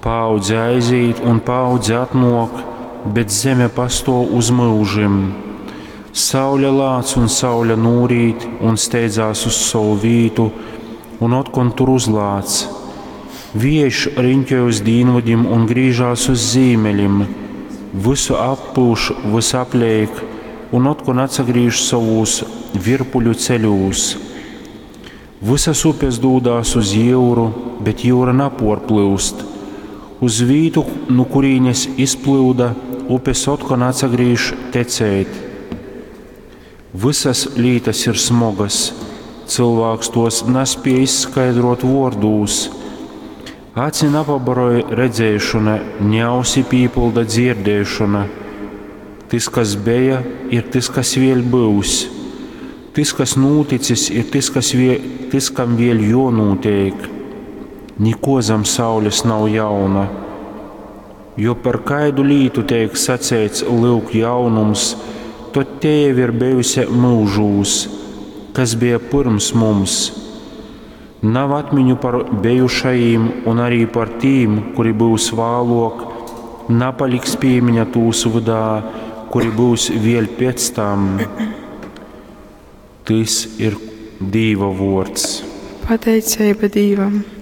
Paaudze aizīt un paaudze atnōk, bet zeme pastōv uz myužim. Saule lāc un saule nūrīt un steidzās uz sovu vītu un otkon tur uzlāc. Viejš riņķoj uz dīnvydim un grīžās uz zīmeļim, vysu appyuš vysapleik un otkon atsagrīž sovūs virpuļu ceļūs. Vysas upes dūdās uz jyuru, bet jyura napōrplyust. Uz vītu, nu kurīnes izplyuda, upes otkon atsagrīž tecēt. Vysas lītas ir smogas, cylvāks tōs naspēj izskaidrōt vōrdūs. Aci napabaroj redzēšona, ni ausi pīpylda dzierdēšona. Tys, kas beja, ir tys, kas vēļ byus. Tys, kas nūticis, ir tys, kas vie, tys, kam vēļ jōnūteik. Nikuo zam saules nav jauna. Jo par kaidu lītu teik saceits, lyuk, jaunums, tod tei jau ir bejuse myužūs, kas beja pyrms mums. Nav atmiņu par bejušajim un arī par tīm, kuri byus vāluok, napaliks pīmiņa tūs vydā, kuri byus vēļ pēc tam. Tys ir Dīva vuords. Pateiceiba Dīvam.